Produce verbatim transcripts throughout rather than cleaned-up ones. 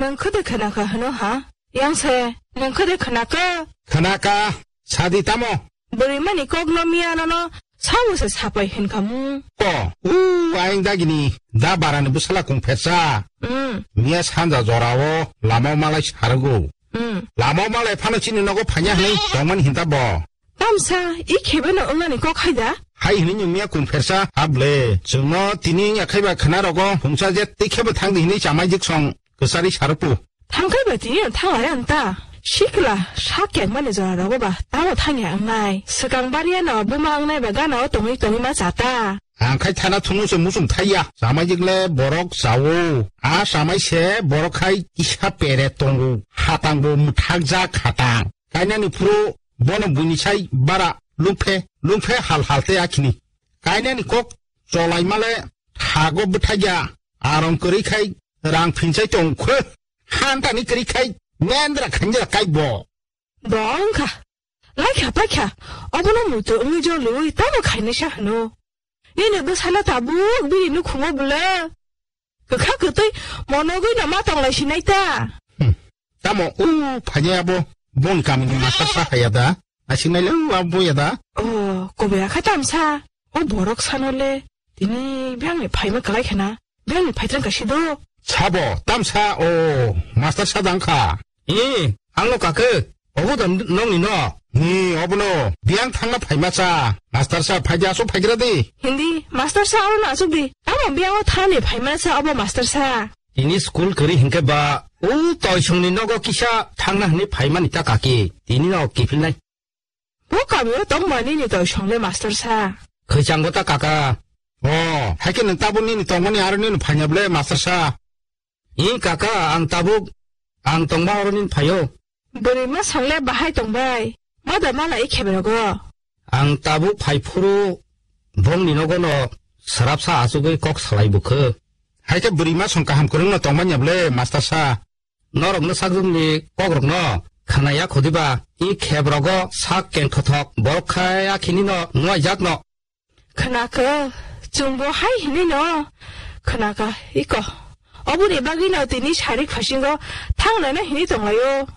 Nwng khwde khwnakha hwno ha? Yang se, nwng khwde khwnakha? Khwnakha, sadi tamo? Bwrwi mani kok no miya nono sabo se sapai hwnkha mu. Ko, u, ayang dagini, da barani bwsala kung phersa. Hmm. Miya sanja jorao lama malai sargo. Hmm. Lama malai phano chini nogo phanya hwnwi tongmani hinta bo. Tamsa, i khebe no wngnani kok hai da? Hai hwnwi nung miya kung phersa, hable. Chwngno tini wngya khaiba khwna rogo, hungsa je tei khebo thangdi hwnwi chamai jiksong kwchari sarupu. Thangkhai ba tini ang thang are ang ta. Sikla, sak keng mani jora rogo ba, tamo thangya ang nai. Swkang baria no buma ang nai ba gana o tongwi tongwi ma cha ta. Ang khai thana thunu se musum thaiya. Chamai jikle borok chawo. A chamai se borok khai kisa pere tongo. Hatang bo muthak jak hatang. Kainani phuru bono buini sai bara lungphe, lungphe hal hal te akhini. Kainani kok cholai male thago bwthai ya. Arong kwrwi khai rang phinsai tong khwe. Hantani kwrwi khai mendra khanjra kai bo. Dong kha. Lai kha pai kha. Obono muitu wngwi jolwi tamo khainai sa hwno. Nini bwsala tabuk bini nukhungo bwle. Kwkha kwtwi monogwi no ma tonglai sinai ta. Hmm. Tamo u phanya abo bon kamini master sa haya da. Asinai le u abo ya da. Oh, kobe akha tamsa. O borok sano le. Tini biyangni phaima kwlai khena. Biyangni phaitrang ka sido. Sabo, tamsa, o, master sa dang kha. Ee, angno kake, obo da nongni no? Ni, obono, biyang thangna phaima cha. Master sa, phaidi aso phaigra di. Hindi, master sa, aro na asuk di. Tamo biyang o thani phaima cha, obo master sa. Tini school kari hingke ba, o toisongni nogo kisa thangna hini phaimani ta kaki. Tini no kipilnai. Bo kamio tongma nini toisong le master sa. Khwchango ta kaka. O, haikhe nwng tabuk nini tongmani aro nini phainya ble master sa. I kaka, ang tabuk, ang tongma oro nini phaio. Bwrwi ma song le bahai tongbai. Ma da mala i khebrogo. Ang tabuk phai phuru bongni nogono sarapsa achugwi kok salai bukho. Haikhe bwrwi ma song kaham kwrwngno tongmanya ble master sa. Norokno sakjwkni kokrokno khwnaya khudiba, i khebrogo sak kengthothok borok khai akhinino nuaijakno. Khwnakha, chwngbo hai hinino khwnakha, iko. Oboni bagwino tini sari khosingo thangnano hini tonglaio.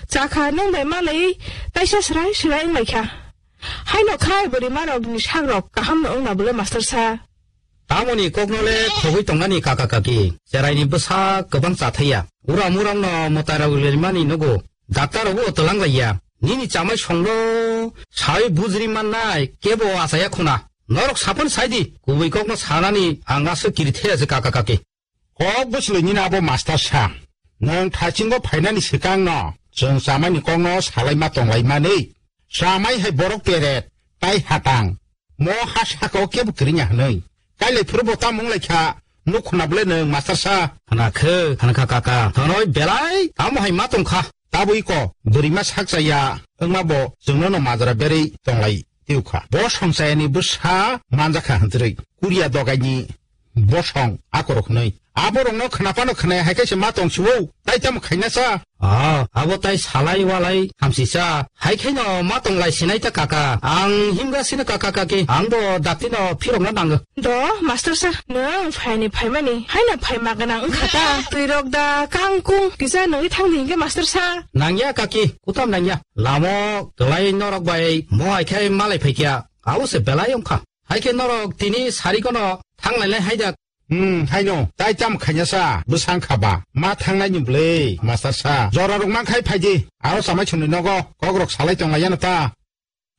Chakha nwng bai malai taisa srai srai wnglaikha. Haino khai bwrwi marokni sakrok kahamno wngna bwle master sa. Tamoni kokno le khogwi tongnani kaka kaki, cheraini bwsa kwbang chathaiya. Uram uramno mwtairok lermani nugo. Daktar rogo twlang laiya. Nini chamai songlo sai bujri mannai kebo achaya khuna. Norok saphan saidi, kubui kokno sanani ang aswk kiri thaya se kaka kaki. Kok bwswlwi nini abo master sa. Nwng thachingo phainani swkangno chwng chamaini kokno salai ma tonglai mani. Chamai hai borok peret, tai hatang. Mo ha saka o kebo kwrwngya hwnwi. Kailai phuru bo tamo wnglaikha, nuk khuna bwle nwng master sa. Khna khe, khna kha kaka. Thonoi belai tamo hai ma tongkha. Tabwi ko, bwrwi ma sak chaya, wngma bo chwngno no majra berwi tonglai tiyukha. Bo songchayani bwsa manjakha hwnjrwi. Kuriya dogaini bosong akorok hwnwi. Aborokno khnaphano khnaya hai khe se ma tongsiwo, tai tamo khaina sa? Ah, abo tai salai walai hamsisa. Hai khe no ma tonglai sinai ta kaka. Ang himga sino kaka kaki. Ang bo dakti no phirokna nango. Do, master sa, nwng phaini phaimani. Haino phaima gwnang wngkha ta. Twirok da kangkung kisa nungwi thangdi hinkhe master sa. Nangya kaki, kutam nangya. Lamo kwlai norok bai mo hai khe malai phaikya. Abo se belai wngkha. Hai khe norok tini sarikono thanglainai hai da. Hmm, haino, tai tamo khaina sa, bwsang kha ba, ma thangnai ni bwlwi, master sa. Jora rok man khai phai di, aro chamai chumni nogo, kok rok salai tong lai ya no ta.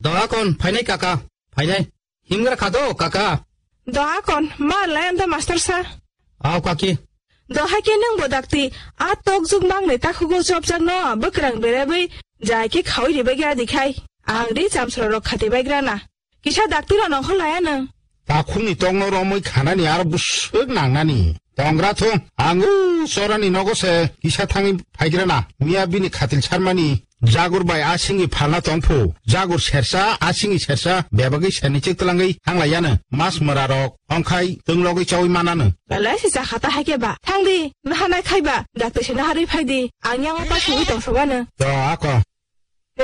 Doha kon, phainai kaka, phainai. Himgra kha do, kaka. Doha kon, ma lai anta master sa. Aw kaki. Doha khe nwng bo dakti, a tok juk mang ni takhugo chop jak no, bwkrang berebwi, jai khe khawi ribai khe adi khai. Ang di chamsro rok khati bai gra na. Kisa dakti rok nongkhor laya nwng. Takhukni tokno romwi khanani aro bwswk nangnani. Tongra thung, ang u chorani nogo se kisa thangwi phaigrana. Miya bini khatil sarmani jagur bai a singwi phalna tongphu. Jagur sersa, a singwi sersa, bebagwi serni chik twlangwi thanglaiyano. Mas mwra rok, ongkhai, twng logwi chawi manano. Belai se chakha ta haikhe ba. Thangdi, nahanai khai ba. Dakti se naharwi phaidi. Ang yango pa singwi tongsogano. To, ako.